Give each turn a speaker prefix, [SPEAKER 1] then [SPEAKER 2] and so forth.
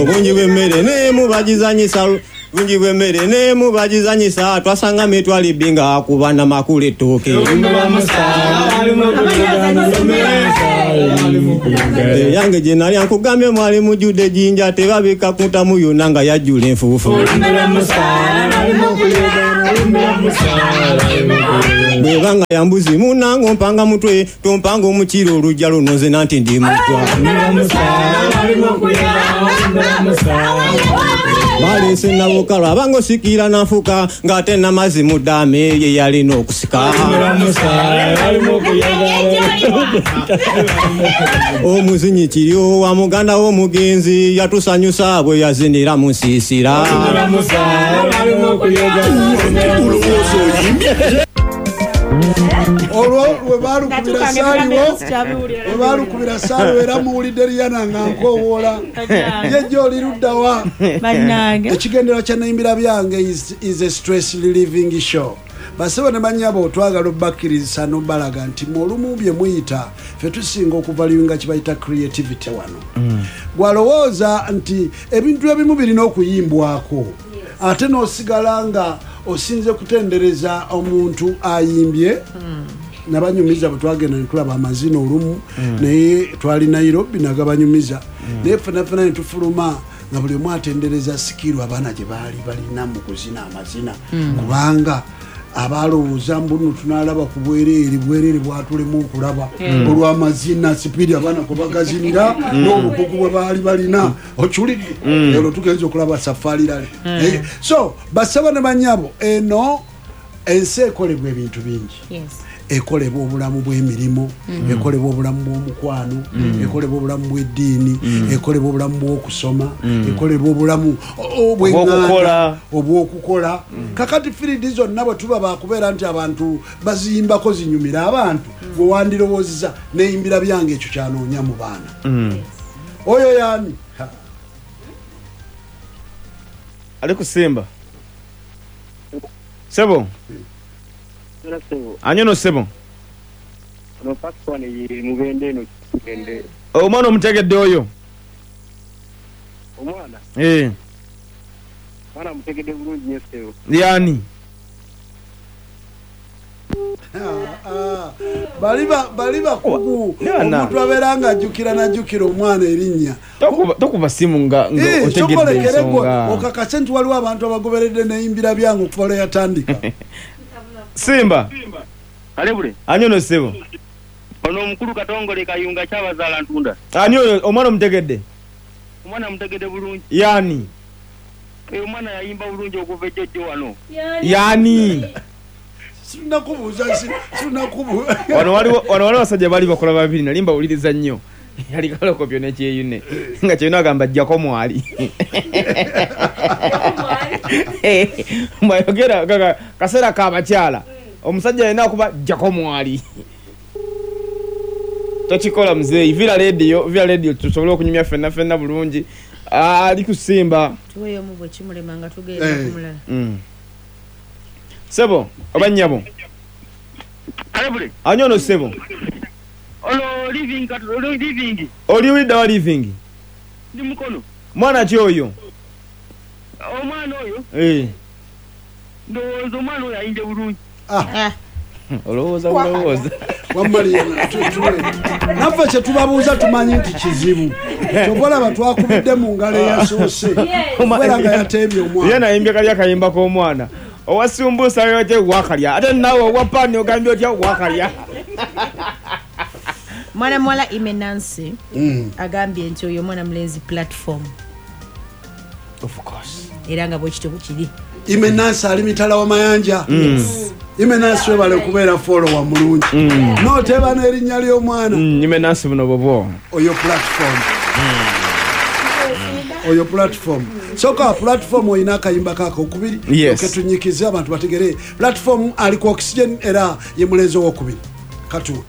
[SPEAKER 1] Obungi bw'emmere nemubagizanyisa, bungi bw'emmere nemubagizanyisa, twasanga mitwalo ebbi nga akuba namakula ettooke. Eyange gye nalya nkugambye mwali mujjudde ejjinja, tebabikka ku ntamu yonna nga yajjula enfuufu. Bw'eba nga ya mbuzi munnange ompanga mutwe, tompanga omukira olujja luno nze nanti ndi mutwa. Baleese Nabukalu abange osikira nanfuka, ng'ate n'amazzi mu ddaame ye yalina okusika. Omuzinyi kiryo wa muganda w'omugenzi yatusanyusa bwe yazinira mu nsiisira.
[SPEAKER 2] Olwo lwe baalukubira saaliwo, lwe baalukubira saaliwo era muwulidde Rihanna nga nkoowoola. Ye jjo oli ludda wa?
[SPEAKER 3] Bannange.
[SPEAKER 2] Ekigendererwa kya Neyimbira Byange is a stress relieving show. Basebo ne bannyabo twagala obakkirizisa n'obalaga nti mu olumu bye muyita ffe tusinga okuvaluinga kye bayita creativity wano. Gwalowooza nti ebintu ebimu birina okuyimbwako ate n'osigala nga osinze kutendereza omuntu ayimbye. Nabanyumiza bwe twagenda ne tulaba amazina olumu, naye twali Nairobi nagabanyumiza, naye ffena ffena ne tufuluma nga buli omu atendereza sikiru abaana gye baali balina mu kuzina amazina, kubanga abalowooza mbu nno tunaalaba ku bwereere, bwereere bwatulema okulaba olw'amazina sipiidi abaana kwe bagazinira n'obukugu bwe baali balina. Okiwulidde? Olwo tugenze okulaba Safari Rally. So basaba ne bannyabo, eno ensi ekolebwa ebintu bingi. Ekolebwa obulamu bw'emirimu, ekolebwa obulamu bw'omukwano, ekolebwa obulamu bw'eddiini, ekolebwa obulamu bw'okusoma, ekolebwa obulamu obw'eŋŋanda, obw'okukola. Kakati field zonna bwe tuba bakubeera nti abantu baziyimbako zinyumira abantu, gwe wandirowoozeza neyimbira byange ekyo kyanoonya mu baana. Oyo yaani?
[SPEAKER 4] Ali kusimba. Sebo. Anyono sebo. Omwana omutegedde oyo?
[SPEAKER 5] Omwana? Omwana mutegedde bulungi nnyo ssebo.
[SPEAKER 4] Yani?
[SPEAKER 2] Bali bakugu. Omuntu abeera nga ajjukira n'ajjukira omwana erinnya.
[SPEAKER 4] Tokuba simu nga otegedde ensonga.
[SPEAKER 2] Okakase nti waliwo abantu abagoberedde neyimbira byange okuva lwe yatandika.
[SPEAKER 4] Simba.
[SPEAKER 5] Alebule.
[SPEAKER 4] Anyono ssebo.
[SPEAKER 5] Ono omukulu Katongole Kayunga Kyabazaala Ntunda.
[SPEAKER 4] Ani oyo omwana omutegedde?
[SPEAKER 5] Omwana mutegedde bulungi.
[SPEAKER 4] Yani?
[SPEAKER 5] Omwana yayimba bulungi okuva ejjojjo wano.
[SPEAKER 4] Yani?
[SPEAKER 2] Sinakubuuza, sinakubuuza.
[SPEAKER 4] Wano waliwo abasajja baali bakola babiri nali mbawuliriza nnyo. Yali Kalokopyo ne Kyeyune. Nga Kyeyune agamba jjako mwali. Mwayogera kaseera k'abakyala. Omusajja alina okuba jjako mwali. Tokikola muzeeyi. Vira radio tusobole okunyumya ffenna ffenna bulungi. Ali kusimba.
[SPEAKER 3] Tuweeyo mu bwe kimulema nga tugenda ku mulala.
[SPEAKER 4] Sebo oba nnyabo? Ani ono sebo?
[SPEAKER 5] Ono living, living.
[SPEAKER 4] Oli widda wa living?
[SPEAKER 5] Ndi mukono.
[SPEAKER 4] Mwana ki oyo?
[SPEAKER 5] Omwana oyo? Ndowooza omwana oyo ayimbye bulungi.
[SPEAKER 4] Olowooza bulowooza.
[SPEAKER 2] Naffe kye tubabuuza tumanyi nti kizibu. Kyova olaba twakubidde mu ngalo eyasoose. Okubeera nga yateebye omwana.
[SPEAKER 4] Ye nayimbye kali akayimba k'omwana. Owa sumbusa yote wakalya. Ate naawe owa paani ogambye otya wakalya.
[SPEAKER 3] Mwana muwala Ime Nancy agambye nti oyo omwana mulenzi platform.
[SPEAKER 4] Of course.
[SPEAKER 3] Era nga bwekityo bwe kiri.
[SPEAKER 2] Ime Nancy ali mitala wa Mayanja. Ime Nancy webale kubeera follower mulungi. N'oteeba n'erinnya ly'omwana.
[SPEAKER 4] Ime Nancy buno bubwo.
[SPEAKER 2] Oyo platform. Oyo platform. Soka platform oyina akayimba kako okubiri. Oketunyikize abantu bategere. Platform ali ku oxygen era ye mulenzi owokubiri. Katuwe.